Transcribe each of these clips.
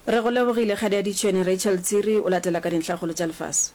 Re go lebogile Kgadi ya Ditšhwene Rachel Tsiri o latela ka dintlhakgolo tša lefase.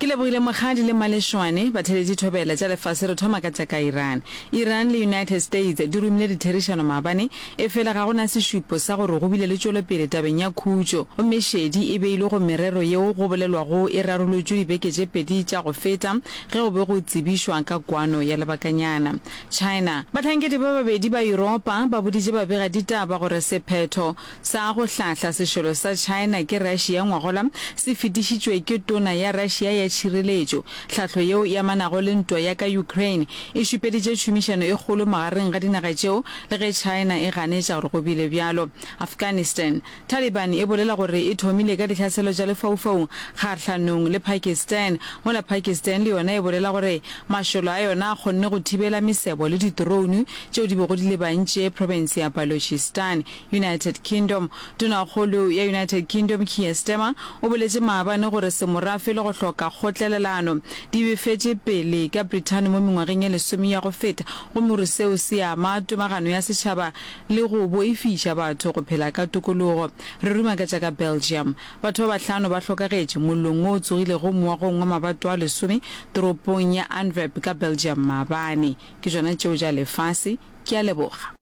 Ke lebogile Mokgadi le Malešwane, batheeletši thobela tša lefase re thoma ka tša ka Iran. Iran le United States di romile ditherišano maabane, efela ga go na sešupo sa gore go bile le tšwelopele tabeng ya khutšo, gomme šedi e beilwe go merero yeo go bolelwago e rarolotšwe dibeke tše pedi tša go feta ge go be go tsebišwa ka kwano ya lebakanyana. China. Bahlankedi ba babedi ba Yuropa ba boditše babegaditaba gore sephetho sa go hlahla sešole sa China ke Russia ngwagola se fetišitšwe ke tona ya Russia ya tšhireletšo. Hlahlo yeo e amanago le ntwa ya ka Ukraine e šupeditše tšhomišano e kgolo magareng ga dinaga tšeo le ge China e ganetša gore go bile bjalo. Afghanistan. Taliban e bolela gore e thomile ka dihlaselo tša lefaufaung kgahlanong le Pakistan, mola Pakistan le yona e bolela gore mašole a yona a kgonne go thibela mesebo le di-drone tšeo di bego di lebantše profense ya Balochistan. United Kingdom. Tonakgolo ya United Kingdom Keir Starmer o boletše maabane gore semorafe le go hloka kgotlelelano di befetše pele ka Brithani mo mengwageng e lesome ya go feta gomme gore seo se ama tomagano ya setšhaba le go boifiša batho go phela ka tokologo. Re ruma ka tša ka Belgium. Batho ba bahlano ba hlokagetše mollong wo o tsogilego moagong wa mabato a lesome toropong ya Antwerp ka Belgium maabane. Ke tšona tšeo tša lefase. Ke a leboga.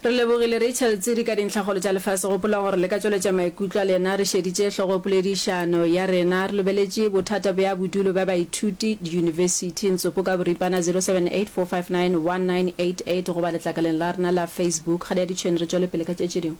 Re lebogile Rachel Tsiri ka dintlhakgolo tša lefase. Gopola gore le ka tšweletša maikutlo a lena re šeditše hlogopoledišano ya rena. Re lebeletše bothata bja bodulo bja baithuti diyunibesithi. Ntsopo ka boripana 0784591988 goba letlakaleng la rena la Facebook. Kgadi ya Ditšhwene re tšwele pele ka tše tše dingwe.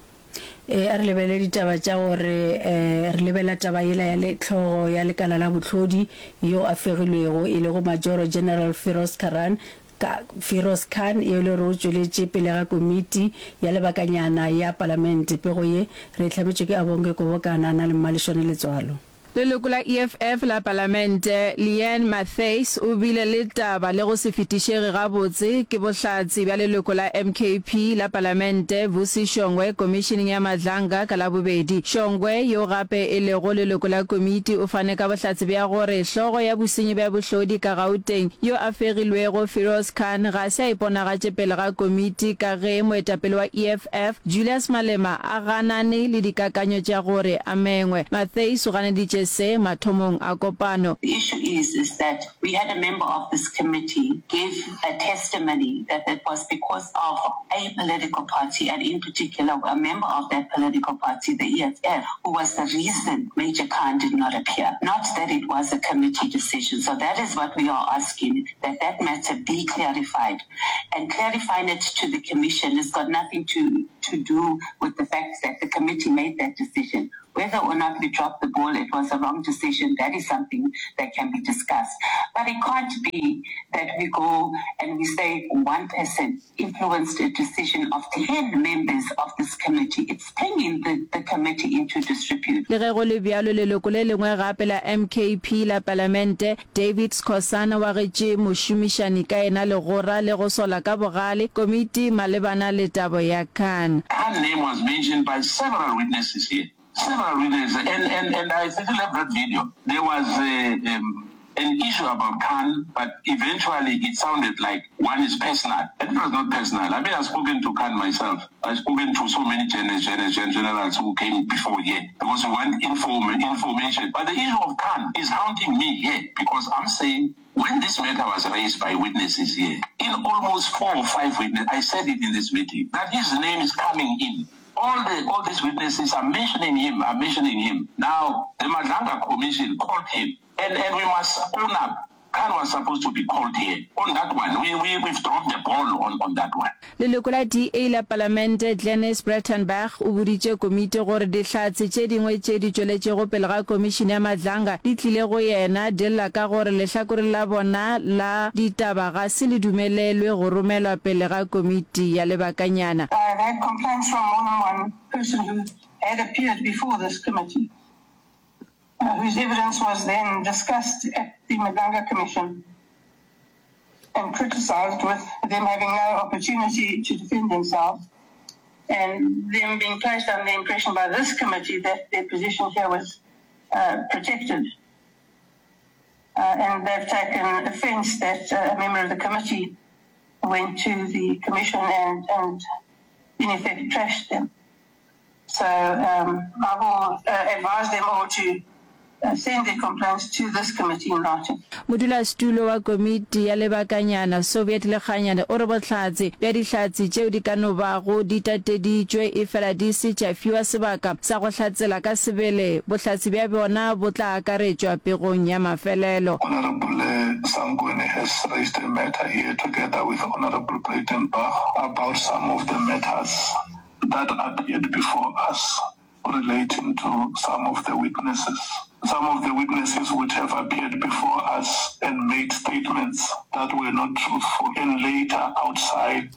Ee, a re lebelele ditaba tša gore re lebelela taba yela ya le hlogo ya lekala la bohlodi yo a fegilwego e lego Majoro General Firoz Karan Ka, Firoz Khan, yo e le gore o tšweletše pele ga komiti ya lebakanyana ya palamente. Pego ye re e hlametšwe ke Abonge Kobokana a na le Mmalešwane Letswalo. Leloko la EFF la Palamente, Leanne Matthys o bile le taba le go se fetišege gabotse ke bohlatse bja leloko la MKP la Palamente, Vusi Shongwe Komišeneng ya Madlanga ka Labobedi. Shongwe, yo gape e lego leloko la komiti, o fane ka bohlatse bja gore hlogo ya bosenyi bja bohlodi ka Gauteng yo a fegilwego, Firoz Khan, ga se a iponagatše pele ga komiti ka ge moetapele wa EFF, Julius Malema, a ganane le dikakanyo tša gore a mengwe. Matthys o ganeditše se mathomong a kopano. The issue is, is that we had a member of this committee give a testimony that it was because of a political party and in particular a member of that political party, the EFF, who was the reason Major Khan did not appear, not that it was a committee decision. So that is what we are asking, that that matter be clarified. And clarifying it to the commission has got nothing to, to do with the fact that the committee made that decision. Whether or not we dropped the ball, it was a wrong decision, that is something that can be discussed. But it can't be that we go and we say one person influenced a decision of 10 members of this committee. It's bringing the, the committee into disrepute. Le ge go le bjalo, leloko le lengwe gape la MKP la Palamente, David Skhosana o agetše mošomišani ka yena legora le go sola ka bogale komiti malebana le tabo ya Khan. Her name was mentioned by several witnesses here, several witnesses, and, and, and I still have that video. There was a, um, an issue about Khan, but eventually it sounded like one is personal. And it was not personal. I mean, I've spoken to Khan myself. I've spoken to so many gen- gen- gen- generals who came before here because we want inform- information. But the issue of Khan is haunting me here because I'm saying when this matter was raised by witnesses here, in almost four or five witnesses, I said it in this meeting, that his name is coming in. All the all these witnesses are mentioning him, are mentioning him. Now, the Madlanga Commission called him, and, and we must own up. Khan was supposed to be called here on that one. We, we, we've dropped the ball on, on that one. Leloko la DA la Palamente Glynnis Breytenbach o boditše komiti gore dihlatse tše dingwe tše di tšweletšego pele ga komišene ya Madlanga di tlile go yena di lla ka gore lehlakore la bona la ditaba ga se le dumelelwe go romelwa pele ga komiti ya lebakanyana. I have had complaints from more than one person who had appeared before this committee, whose evidence was then discussed at the Madlanga Commission and criticised with them having no opportunity to defend themselves. And them being placed under the impression by this committee that their position here was uh, protected. Uh, and they've taken offence that uh, a member of the committee went to the commission and, and in effect trashed them. So um, I will uh, advise them all to uh, send their complaints to this committee in writing. Modulasetulo wa komiti ya lebakanyana, Soviet Lekganyane, o re bohlatse bja dihlatse tšeo di ka no bago di tateditšwe efela di se tša fiwa sebaka sa go hlatsela ka sebele, bohlatse bja bjona bo tla akaretšwa pegong ya mafelelo. Honourable Sangweni has raised a matter here together with Honourable Breytenbach about some of the matters that appeared before us relating to some of the witnesses. Some of the witnesses would have appeared before us and made statements that were not truthful and later outside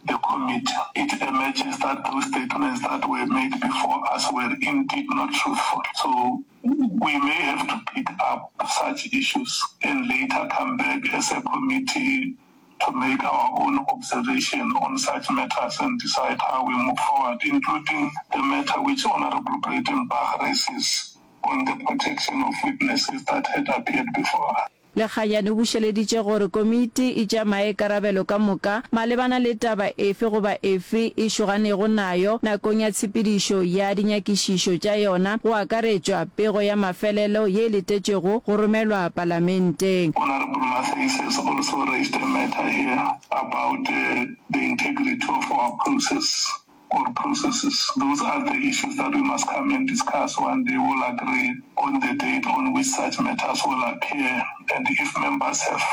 the committee it emerges that those statements that were made before us were indeed not truthful. So we may have to pick up such issues and later come back as a committee to make our own observation on such matters and decide how we move forward, including the matter which Honourable Breytenbach raises on the protection of witnesses that had appeared before us. Lekganyane o bušeleditše gore komiti e tšea maikarabelo ka moka malebana le taba efe goba efe e šoganego nayo nakong ya tshepedišo ya dinyakišišo tša yona, go akaretšwa pego ya mafelelo ye e letetšwego go romelwa Palamenteng. Honourable Matthys has also raised a matter here about the integrity of our process or processes. Those are the issues that we must come and discuss one day. We'll agree on the date on which such matters will appear and if members have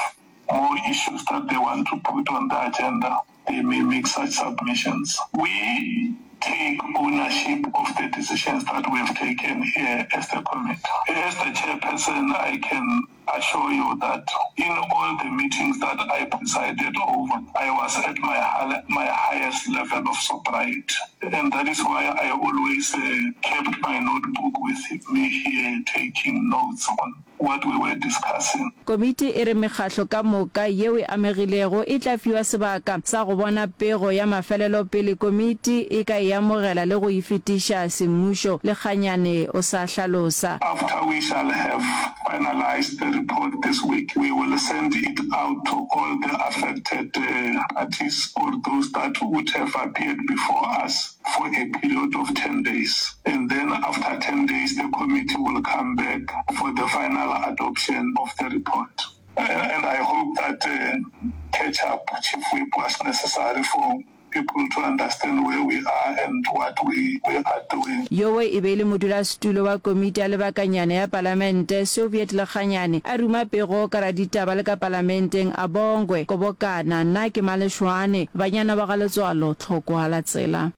more issues that they want to put on the agenda, they may make such submissions. We take ownership of the decisions that we have taken here as the committee. As the chairperson, I can assure you that in all the meetings that I presided over, I was at my, my highest level of sobriety. And that is why I always uh, kept my notebook with me here, taking notes on what we were discussing. Komiti e re mekgatlo ka moka yeo e amegilego e tla fiwa sebaka sa go bona pego ya mafelelo pele komiti e ka e amogela le go e fetiša semmušo, Lekganyane o sa hlalosa. After we shall have finalised the report this week, we will send it out to all the affected parties or those that would have appeared before us for a period of 10 days and then after 10 days the committee will come back for the final adoption of the report. And I hope that catch up, Chief Whip, was necessary for people to understand where we are and what we, we are doing. Yowe e be e le modulasetulo wa komiti ya lebakanyana ya palamente, Soviet Lekganyane, a ruma pego ka raditaba le ka palamenteng, a bongwe, Kobokana, nna ke Maleshwane, banyana ba ga Letswalo, Tlhokwa la tsela.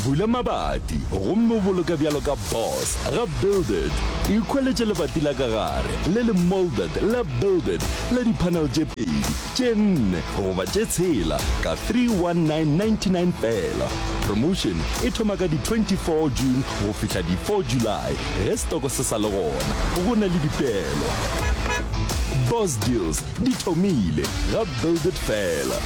Bula mabati gomme o boloke bjalo ka boss ga Build It. Ikhweletše lebati la ka gare le le moulded la Build It la di-panel tše pedi, tše nne goba tše tshela ka 31999 feela. Promotion e thoma ka di 24 June go fihla di 4 July ge setoko se sa le gona. Go na le dipeelo. Boss Deals di thomile ga Build It feela.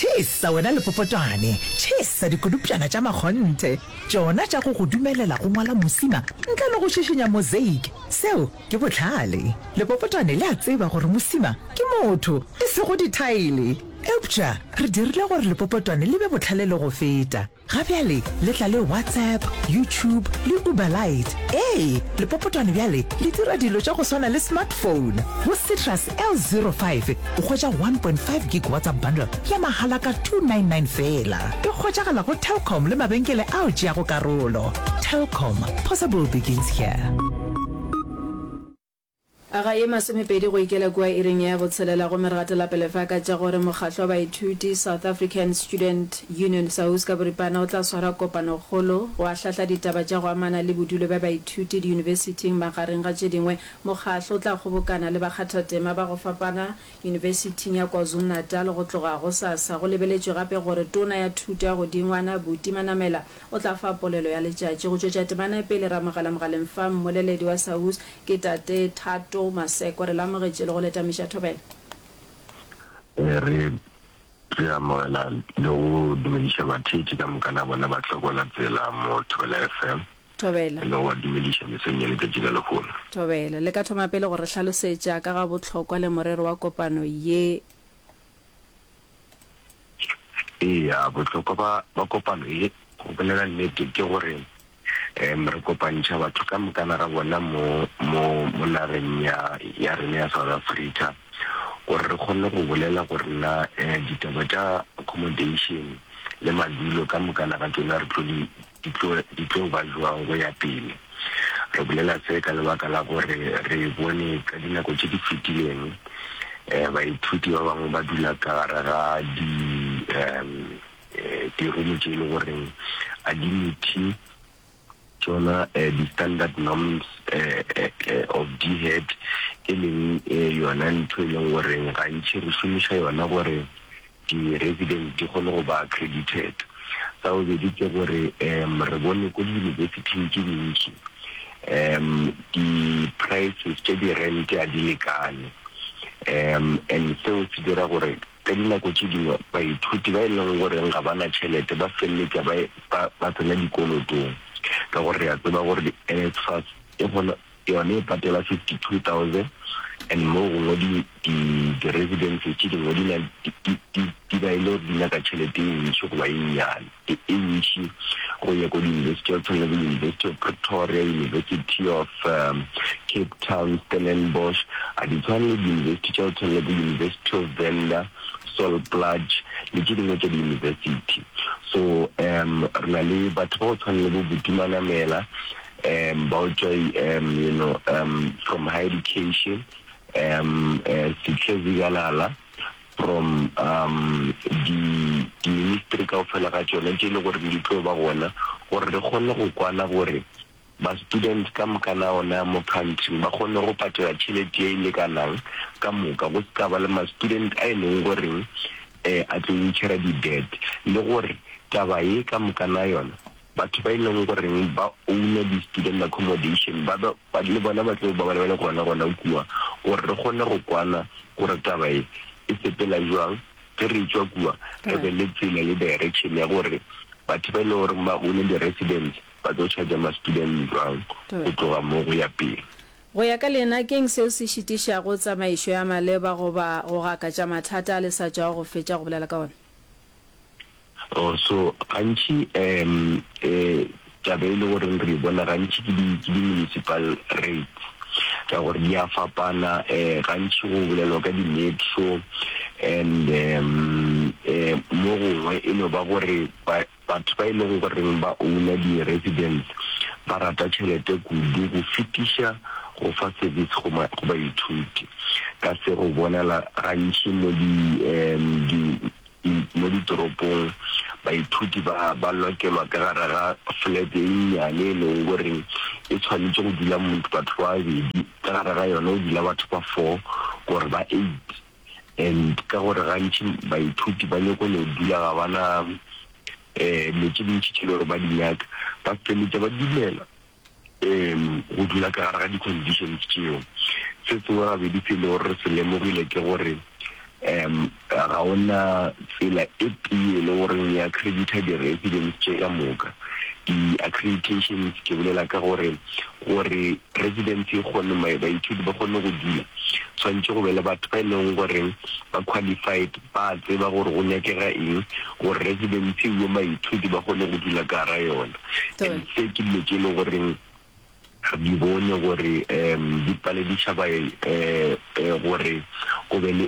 Tšhesa wena lepopotwane, tšhesa dikodupšana tša makgonthe, tšona tša go go dumelela go ngwala mosima ntle le go šišinya mosaic. Seo ke bohlale. Lepopotwane le a tseba gore mosima ke motho, e sego dithaele. Eupša re dirile gore lepopotwane le be bohlale le go feta. Ga bjale le tla le WhatsApp, YouTube le Uber Lite. Ee, lepopotwane bjale le dira dilo tša go swana le smartphone. Go Citrus L05 o hwetša 1.5 gig WhatsApp bundle ya mahala ka 299 feela. E hwetšagala go Telkom le mabenkele ao tšeago karolo. Telkom, possible begins here. Ga ye masomepedi go ikela kua iring ya botshelela gomme re gatela pele fa ka tša gore mokgatlo wa baithuti South African Student Union, SAUS, ka boripana o tla swara kopanokgolo go ahlahla ditaba tša go amana le bodulo bja baithuti diyunibesithing magareng ga tše dingwe. Mokgatlo o tla kgobokana le bakgathatema ba go fapana yunibesithing ya KwaZulu-Natal go tloga gosasa. Go lebeletšwe gape gore Tona ya Thuto ya Godingwana Buti Manamela o tla fa polelo ya letšatši. Go tšwetša temana pele re amogela mogaleng fa mmoleledi wa SAUS Ke Tate Thato Maseko. Re le amogetše le go le tamiša thobela. Re. Re amogela le go dumediša batheetši ka moka na bona ba hlokola tsela mo Thobela FM. Thobela. Le go ba dumediša mesong ya letšatši la lehono. Thobela. Le ka thoma pele go re hlalosetša ka ga bohlokwa le morero wa kopano ye? Eya, bohlokwa ba, ba kopano ye, go bolela nnete, ke gore um re kopantšha batho ka mokana ga bona mo, mo, mo nageng ya, ya rena ya South Africa, gore re kgone go bolela gore na um ditaba tša accommodation le madulo ka mokana ga tšona re tlo di, di tlo, di tlo ba jwang go ya pele. Re bolela se ka lebaka la gore re bone ka dinako tše di fetileng um baithuti ba bangwe ba dula ka gare ga di um dirumo tše e le goreng a di meet tšona di-standard norms of DHET, e leng yona ntho e leng goreng gantši re šomiša yona gore di-residents di kgone go ba accredited. Sa bobedi ke gore re bone ko di-university-ing tše dintši di-prices tša di-rent a di lekane and seo se dira gore Ka dinako tše dingwe baithuti ba e leng goreng ga ba na tšhelete ba feleletša ba ba ba tsena dikolotong ka gore re a tseba gore di-NSFAS e kgona yone e patela 52,000 and mo gongwe di di di-residences tše dingwe di na di di di di ba e le gore di nyaka tšhelete e ntši goba e nnyane e e ntši go ya ko di-university ya go tshwana le bo University of Pretoria, University of um, Cape Town, Stellenbosch, a di tshwane le di-university tša go tshwana le bo University of Venda, Sol Plaatje le tše dingwe tša di-university. So um re na le batho ba go tshwana le bo Buti Manamela um ba go tšwa um you know um from higher education um uh, Sihle Zikalala from um di di-ministry kaofela ga tšona tše e le gore di tlo ba gona gore re kgone go kwana gore ba-students ka moka na ona mo country ba kgone go patela tšhelete ye e lekanang ka moka, go se ka ba le ma-student a e leng goreng um a tlo incurra di-debt le gore taba ye ka moka na yona batho ba e leng goreng ba owner di-student accommodation ba be ba le bona ba tlo ba ba le gona gona kua gore re kgone go kwana gore taba ye e sepela jwang ge re etšwa kua re be le tsela le direction ya gore batho ba e leng gore ba owner di-residence ba tlo charger ma-student jwang go tloga mo go ya pele. Go ya ka lena, ke'ng seo se šitišago tsamaišo ya maleba goba go gakatša mathata a le sa tšwago go fetša go bolela ka ona? Oh, so gantši um eh, taba e le goreng re e bona gantši ke di ke di-municipal rates ka gore di a fapana um gantši go bolelwa ka di-metro and um eh, mo gongwe e no ba gore batho ba e leng goreng ba owner di-residence ba rata tšhelete kudu go fetiša go fa service go go baithuti. Ka se go bonala gantši mo di um di Mo ditoropong, baithuti ba ba lokelwa ka gare ga flat e nnyane e leng gore e tshwanetše go dula motho batho ba babedi, ka gare ga yona go dula batho ba four gore ba eight. And ka gore gantši baithuti ba nyako no dula ga ba na dilo tše dintši tše le gore ba di nyaka, ba feleletša ba dumela um go dula ka gare ga di-conditions tšeo. Se sengwe gabedi se e le gore re se lemogile ke gore um ga o na tsela e tee e le goreng e accredita di-residence tše ka moka. Di-accreditations ke bolela ka gore gore residence e kgone baithuti ba kgone go dula tshwanetše go be le batho ba e leng goreng ba qualified ba tseba gore go nyakega eng gore residence e baithuti ba kgone go dula ka gara yona. And se ke dilo tše e leng goreng re di bone gore um di palediša ba gore go be le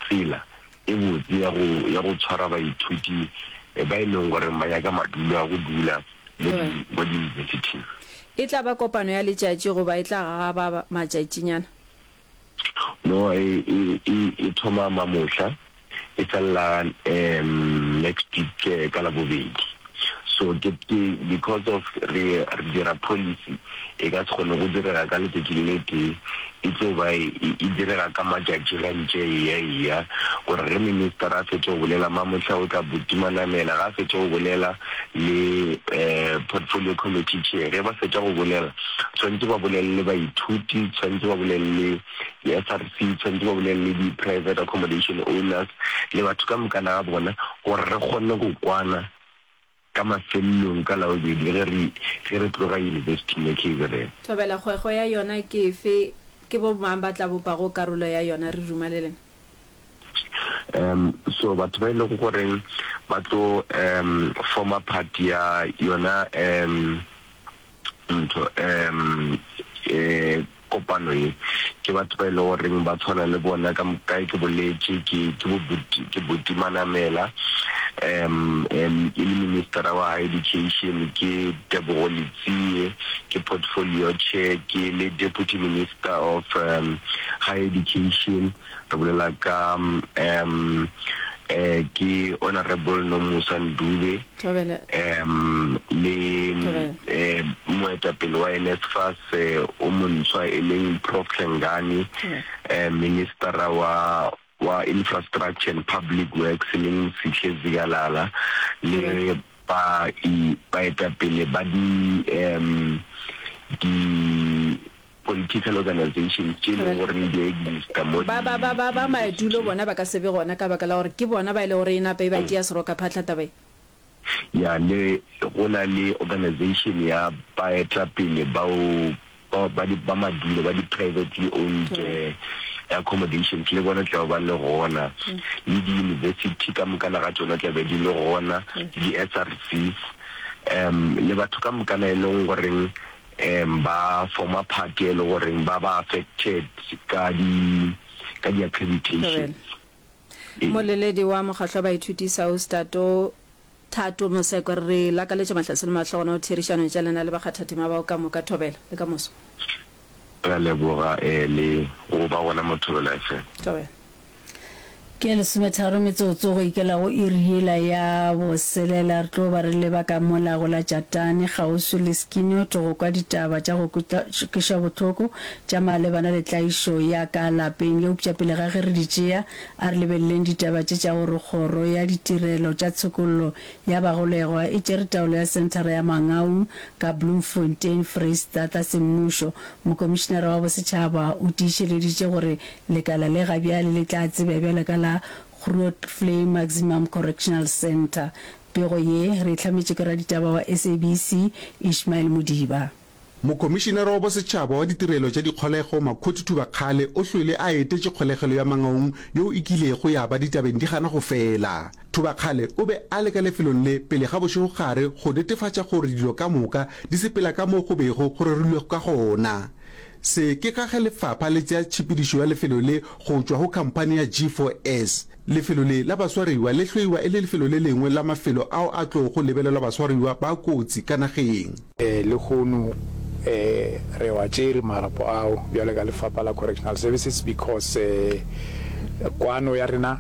tsela e botse ya go ya go tshwara baithuti ba e leng gore ba nyaka madulo a go dula mo di mo di-university-ing. E tla ba kopano ya letšatši goba e tla gagaba matšatšinyana? No, e e e e thoma mamohla e felela um next week ka Labobedi. So ke ke because of re re dira policy e ka se kgone go direga ka letšatši le le tee, e tlo ba e e direga ka matšatši ge ntše e eya e eya, gore ge minister a fetša go bolela mamohla o tla botimanamela, ge a fetša go bolela le portfolio committee chair, ge ba fetša go bolela tshwanetše ba bolele le baithuti, tshwanetše ba bolele le di-S_R_C, tshwanetše ba bolele le di-private accommodation owners le batho ka mokana ga bona gore re kgone go kwana ka mafelelong ka Labobedi ge re ge re tloga Yunibesithing ya KZN. Thobela, Kgwekgwe ya yona ke efe? Ke bo mang ba tla bopago karolo ya yona? Re duma le lena. Um so batho ba e lego goreng ba tlo um former part ya yona um ntho um eh kopano ye ke batho ba e le goreng ba tshwana le bona ka kae ke boletše ke ke bo buti ke buti Manamela um um e le ministera wa high education ke Tebogo Letsie ke portfolio chair ke le deputy minister of um high education Re bolela ka um eh, ke Honourable Nomusa Ndube um le eh, moetapele wa NSFAS eh, o montshwa e leng Prof Hlengani, eh, ministera wa wa Infrastructure and Public Works e leng Sihle Zikalala le ba baetapele ba di um di Political organizations tše e leng gore di a exista mo Ba, ba, ba, ba, ba madulo bona ba ka se be gona ka baka la gore ke bona ba e le gore e napa e ba tšea serokaphatla taba ye. Ya, le go na le organization ya baetapele bao ba, ba di, ba madulo ba di privately owned accommodations le bona tla be ba le gona, le di-university ka mokana ga tšona tla be di le gona, le di-S_R_Cs, um le batho ka mokana e leng goreng um ba former party e le goreng ba ba affected ka di ka di accreditations. Ee. Moleledi wa mokgahlo wa baithuti SAUS Tato Thato Moseko re lakaletša mahlatse le mahlogonolo therišanong tša lena le bakgathatema bao ka moka Thobela le ka moso. Re a leboga le go ba gona mo Thobela FM. Thobela. Ke ya lesometharo metsotso go ikela go iri yela ya boselela. Re tlo ba re leba ka mola go la Jatane kgauswi le Skinot go kwa ditaba tša go kweša bohloko tša malebana le tlaišo ya ka lapeng. Eupša pele ga ge re di tšea, a re lebeleleng ditaba tše tša gore Kgoro ya Ditirelo tša Tshokollo ya Bagolegwa e tšere taolo ya Senthara ya Mangaung ka Bloemfontein, Freistata semmušo. Mokomišenara wa Bosetšhaba o tiišeleditše gore Lekala le ga bjale le tla tsebja bjalo ka la Grootvlei Maximum Correctional Centre. Pego ye re e hlametše ke raditaba wa SABC, Ishmael Modiba. Mokomišenara wa Bosetšhaba wa Ditirelo tša Dikgolego, Makhoti Thubakgale o hlwele a etetše kgolegelo ya Mangaung yeo e kilego ya ba ditabeng di gana go fela. Thubakgale o be a le ka lefelong le pele ga bošegogare go netefatša gore dilo ka moka di sepela ka moo go bego go rerilwego ka gona. Se ke ka ge lefapha le tšea tšhepedišo ya lefelo le go tšwa go khamphani ya G4S. Lefelo le la baswariwa le hloiwa e le lefelo le lengwe la mafelo ao a tlogo lebelelwa baswariwa ba kotsi ka nageng. Lehono re wa tšere marapo ao bjalo ka lefapha la Correctional Services because kwano ya rena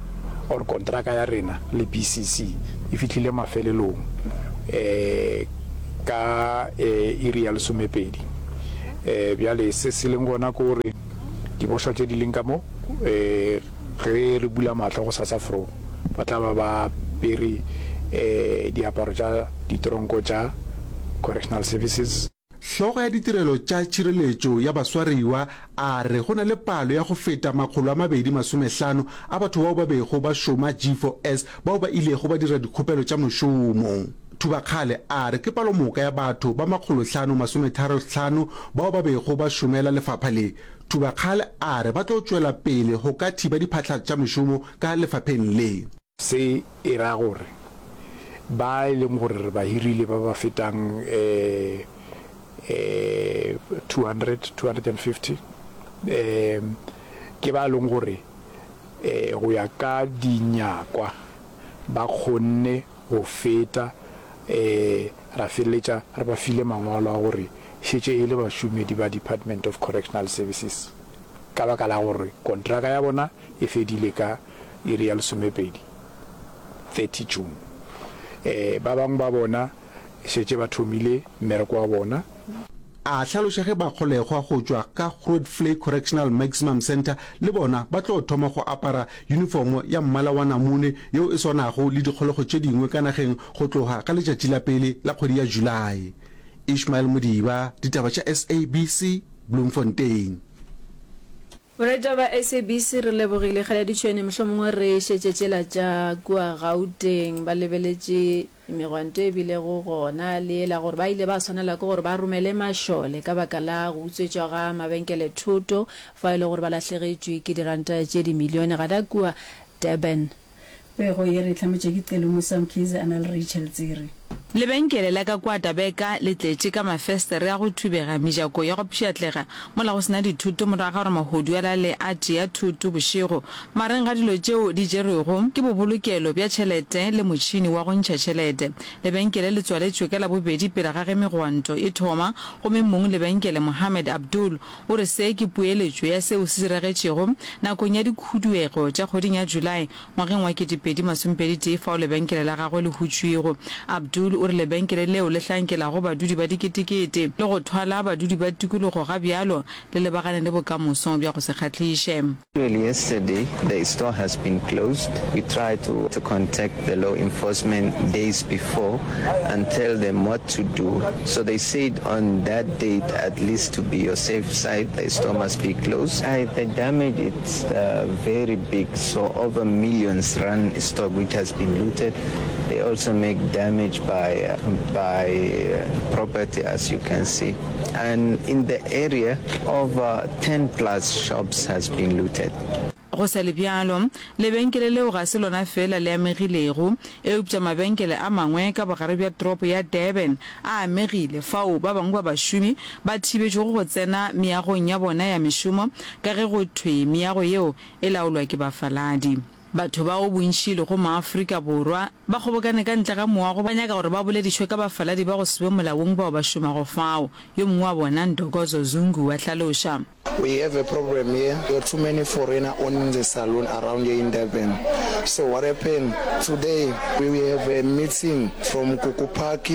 or kontraka ya rena le BCC e fihlile mafelelong ka iri ya lesomepedi. Bjale se se leng gona ke gore dibošwa tše di leng ka mo, ge re bula mahlo gosasa fro, ba tla ba ba apere diaparo tša ditronko tša Correctional Services. Hlogo ya ditirelo tša tšhireletšo ya baswariwa a re go na le palo ya go feta 250 a batho bao ba bego ba šoma G4S bao ba ilego ba dira dikgopelo tša mošomo. Thubakgale a re ke palomoka ya batho ba makgolohlano masometharo-hlano bao ba bego ba šomela lefapha le. Thubakgale a re ba tlo tšwela pele go ka thiba diphahla tša mešomo ka lefapheng le. Se e ra gore ba e leng gore re ba hirile ba ba fetang 200, 250 ke ba e leng gore go ya ka dinyakwa ba kgonne go feta ra feleletša re ba file mangwalo a gore šetše e le bašomedi ba Department of Correctional Services ka baka la gore kontraka ya bona e fedile ka iri ya lesomepedi, 30 June. Ba bangwe ba bona. Šetše ba thomile mmereko wa bona. A hlaloša ge bagolegwa go tšwa ka Grootvlei Correctional Maximum Centre le bona ba tlo thoma go apara yunifomo ya mmala wa namune yeo e swanago le dikgolego tše dingwe ka nageng go tloga ka letšatši la pele la kgwedi ya Julae. Ishmael Modiba, Ditaba tša SABC, Bloemfontein. Boretša ba SABC re lebogile. Kgale ditšhwene mohlomongwe re šetše tšela tša kua Gauteng ba lebeletše megwanto e bilego gona le yela gore ba ile ba swanela ke gore ba romele mašole ka baka la go utswetšwa ga mabenkele thoto fao e le gore ba lahlegetšwe ke diranta tše dimilione gana kua Durban. Pego ye re e hlametše ke Celo Musa Mkhize a na le Rachel Tsiri. Lebenkele la ka kua Dabeka le tletše ka mafestere a go thubega, mejako ya go pšhatlega, mola go se na dithoto morago ga gore mahodu a lale a tšea thoto bošego. Magareng ga dilo tšeo di tšerwego ke bobolokelo bja tšhelete le motšhini wa go ntšha tšhelete. Lebenkele le tswaletšwe ka Labobedi pele ga ge megwanto e thoma, gomme mong lebenkele Mohammed Abdul O re se ke poeletšo ya seo se diragetšego nakong ya dikhuduego tša kgweding ya July ngwageng wa 2021 fao lebenkele la gagwe le hutšwego. Abdul o re lebenkele leo le hlankelago badudi ba diketekete le go thwala badudi ba tikologo ga bjalo le lebagane le bokamoso bja go se kgahliše. Actually yesterday the store has been closed, we tried to to contact the law enforcement days before and tell them what to do, so they said on that date at least to be your safe side the store must be closed. I the damage it's very big so over millions rand stock which has been looted, they also make damage by by property as you can see. And in the area, over 10 plus shops has been looted. Go sa le bjalo, lebenkele leo ga se lona feela le amegilego, eupša mabenkele a mangwe ka bogare bja toropo ya Durban a amegile, fao ba bangwe ba bašomi ba thibetšwego go tsena meagong ya bona ya mešomo ka ge go thwe meago yeo e laolwa ke bafaladi. Batho bao bontši e lego maAfrika Borwa ba kgobokane ka ntle ga moago ba nyaka gore ba boledišwe ka bafaladi ba go se be molaong bao ba šomago fao. Yo mongwe wa bona, Ntokozo Zungu, wa hlaloša. We have a problem here, there are too many foreigner owning the saloon around here in Durban. So what happened today, we have a meeting from Kuku Park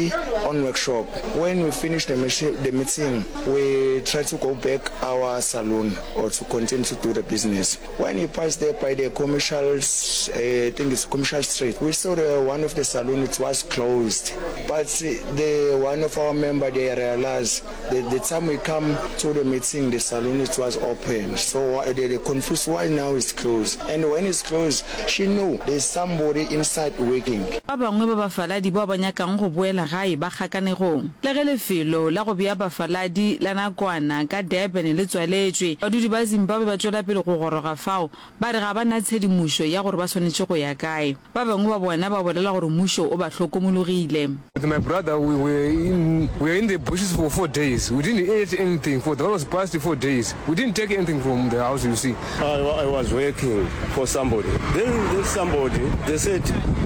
on workshop. When we finish the, the meeting, we try to go back our saloon or to continue to do the business. When he passed there by the commercial, I think it's commercial street, we saw the one of the saloon, it was closed. But the one of our member, they realized that the time we come to the meeting, the saloon, it was open. So they, they confused why now it's closed. And when it's closed, she knew there's somebody inside working. Ba bangwe ba bafaladi bao ba nyakang go boela gae ba kgakanegong. Le ge lefelo la go bea bafaladi la nakwana ka Durban le tswaletšwe, badudi ba Zimbabwe ba tšwela pele go goroga fao, ba re ga ba na tshedimošo ya gore ba swanetše go ya kae. Ba bangwe ba bona ba bolela gore mmušo o ba hlokomologile. With my brother we were in we were in the bushes for four days we didn't eat anything for those past four days we didn't take anything from the house you see. I, I was working for somebody then this somebody they said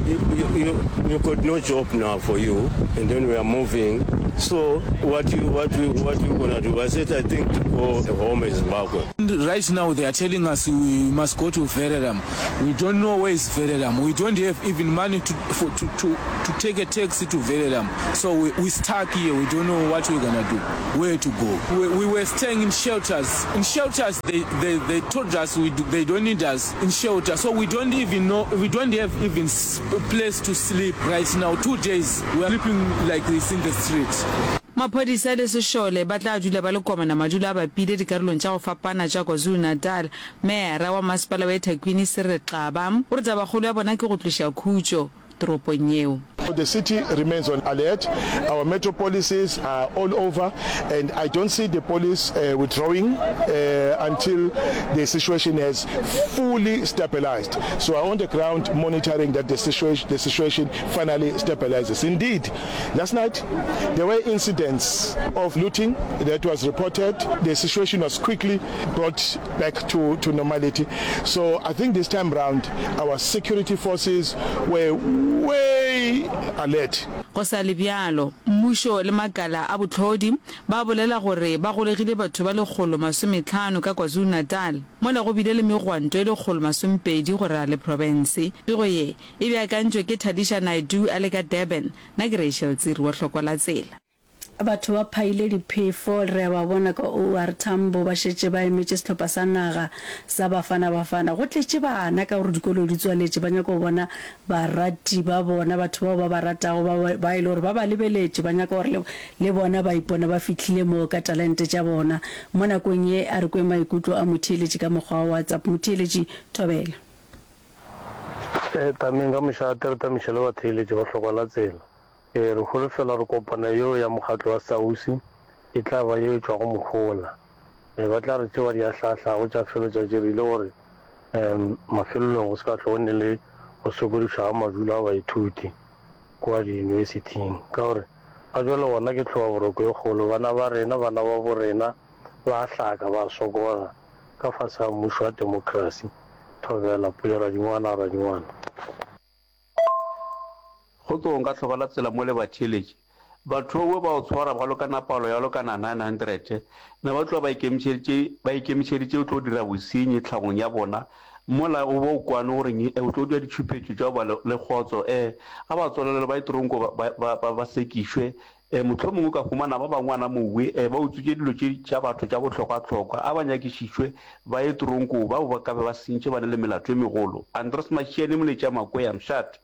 you, you, you, you got no job now for you and then we are moving so what you what you what you gonna do I said I think to go home in Zimbabwe. Right now they are telling us we must go to Verulam we don't know where is Verulam we don't have even money to, for, to, to, to take a taxi to Verulam so we, we stuck here we don't know what we're gonna do where to go we, we were staying in shelters in shelters they, they, they told us we do, they don't need us in shelter so we don't even know we don't have even place to sleep right now two days we are sleeping like this in the street Maphodisa le sešole ba tla dula ba le komana madulo a bapile dikarolong tša go fapana tša KwaZulu-Natal. Meyara wa masepala wa eThekwini Cyril Xaba o re tabakgolo ya bona ke go tloša khutšo toropong yeo. The city remains on alert, our metro polices are all over and I don't see the police withdrawing until the situation has fully stabilized. So are on the ground monitoring that the situation, the situation finally stabilizes. Indeed, last night there were incidents of looting that was reported. The situation was quickly brought back to, to normality. So I think this time round our security forces were way stay alert. Go sa le bjalo, mmušo le makala a bohlodi ba bolela gore ba golegile batho ba 150 ka KwaZulu-Natal, mola go bile le megwanto e 120 go ralala le profense. Pego ye e beakantšwe ke Thadisha Naidoo a le ka Durban, nna ke Rachel Tsiri wa Hlokwa la Tsela. Batho ba phaile diphefo, re a ba bona ka OR Tambo ba šetše ba emetše sehlopha sa naga sa Bafana Bafana. Go tletše bana ka gore dikolo di tswaletše, ba nyaka go bona barati ba bona, batho bao ba ba ratago ba ba e le gore ba ba lebeletše, ba nyaka gore le, le bona ba ipone ba fihlile moo ka talente tša bona. Mo nakong ye a re kwe maikutlo a motheeletši ka mokgwa wa WhatsApp. Motheeletši, thobela. E, tameng ka mošate re tamiše le batheeletši ba hlokwa la tsela. Ee, re holofela gore kopano yeo ya mokgatlo wa SAUSI e tla ba yeo e tšwago mohola. Ee, ba tla re tše ba di ahlaahlago tša felo tša dirile gore um mafelelong go se ka hlwe go ne le go sokodišwa ga madulo a baithuti kua diyunibesithing. Ka gore ga bjale gona ke tlhobaboroko e kgolo, bana ba rena, bana babo rena ba a hlaka, ba a sokola ka fase ga mmušo wa temokrasi. Thobela, Pule Radingwana, Radingwana. Kgotsong ka hloka la tsela mo le batheeletši. Batho bowe ba o tshwara ba lokana palo ya lokana 900, ne ba tloga ba ikemišeditše ba ikemišeditše o tlo dira bosenyi tlhagong ya bona, mola o bo o kwane gore nge o tlo dira ditšhupetšo tša go ba le kgotso eh a ba tswalelwe ba ye tronko ba ba ba ba sekišwe eh mohlomongwe o ka humana ba bangwana mowe eh ba utswitše dilo tše tša batho tša bohlokwa-hlokwa a ba nyakišišwe ba ye tronko bao ba ka be ba sentše ba na le melato e megolo. Andros Mashiane Moletša Makwea Mshat.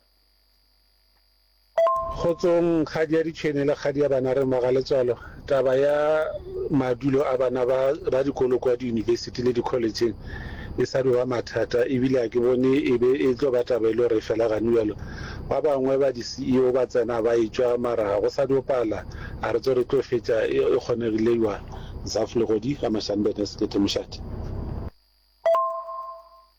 Kgotsong kgadi ya ditšhwene le kgadi ya bana re Mogaletswalo. Taba ya madulo a bana ba ba dikolo kwa diyunibesithi le dikholetšheng e sa dio ba mathata ebile ga ke bone e be e tlo ba taba e le gore e fela gane bjalo. Ba bangwe ba di-CEO ba tsena ba etšwa mara ga go sa dio pala a re tso re tlo fetša e kgonegile jwang. Zaf Legodi, Ga Mashanbene, Sekete Mošate.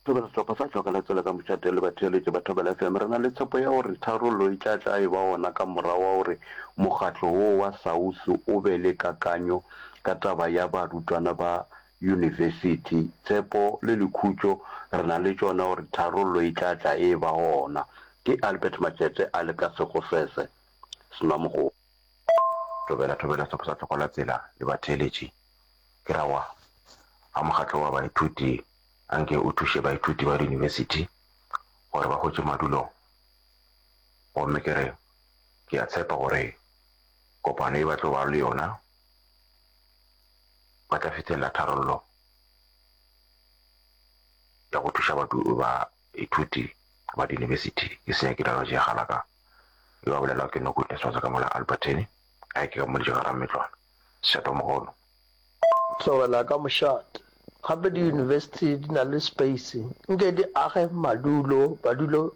Thobela Sehlopha sa Hloka la Tsela ka Mošate le batheeletši ba Thobela FM re na le tshepo ya gore tharollo e tla tla e ba gona ka morago ga gore mokgatlo wo wa SAUS o be le kakanyo ka taba ya barutwana ba yunibesithi. Tshepo le lekhutšo re na le tšona gore tharollo e tla tla e ba gona. Ke Albert Matšete a le ka Sekgosese, Senwamogolo. Thobela Thobela Sehlopha sa Hloka la Tsela le batheeletši Ke ra wa ga mokgatlo wa baithuti anke o thuše baithuti ba diyunibesithi gore ba hwetše madulo gomme ke re ke a tshepa gore kopano ye ba tlo bago le yona ba tla fihlelela tharollo ya go thuša baithuti ba diyunibesithi. Ke senya ke dira tše galaka yo a bolelago ke Nogoodness wa tša ka mola Albertine gae ke ka mo Lejega Rametlwana. Sešatomogolo. Tlogela ka mošate. Gape diyunibesithi di na le space, nke di age madulo, badulo,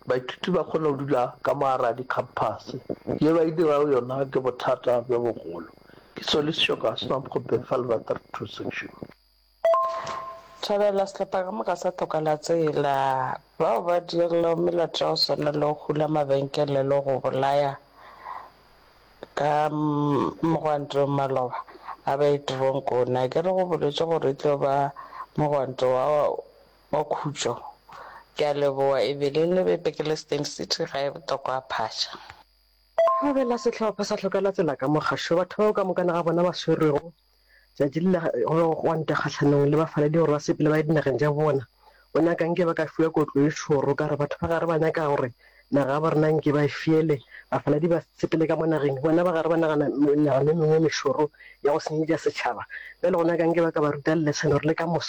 baithuti ba kgone go dula ka mo gare ga di-campus. Ye ba e dirago yona ke bothata bjo bogolo. Ke Solly Seshoka, Swamkgope, Vaalwater 2 Section. Thabela sehlopha ka moka sa Toka la Tsela, bao ba dirilego melato ya go swana le go hula mabenkele le go bolaya Ka mogwanto maloba a ba ye teronkong. Na ke re go boletše gore e tlo ba mogwanto wa wa khutšo. Ke a leboga Evelyn Lebepe ke le Steyn City gae Botlokwa Phasha. Thabela sehlopha sa hlokela tsela ka mogašo batho bao ka mokana ga bona ba swerwego Tšatši le la go be go gwanta kgahlanong le bafaladi gore ba sepele ba ye dinageng tša bona. O nyaka nke ba ka fiwa kotlo e šoro ka gore batho ba gare ba nyaka gore naga ya borena nke ba e fiele, bafaladi ba sepele ka mo nageng, bona ba gare ba nagana menagano e mengwe e mešoro ya go senyetša setšhaba. Bjale go nyaka nke ba ka ba ruta lesson gore le ka moso.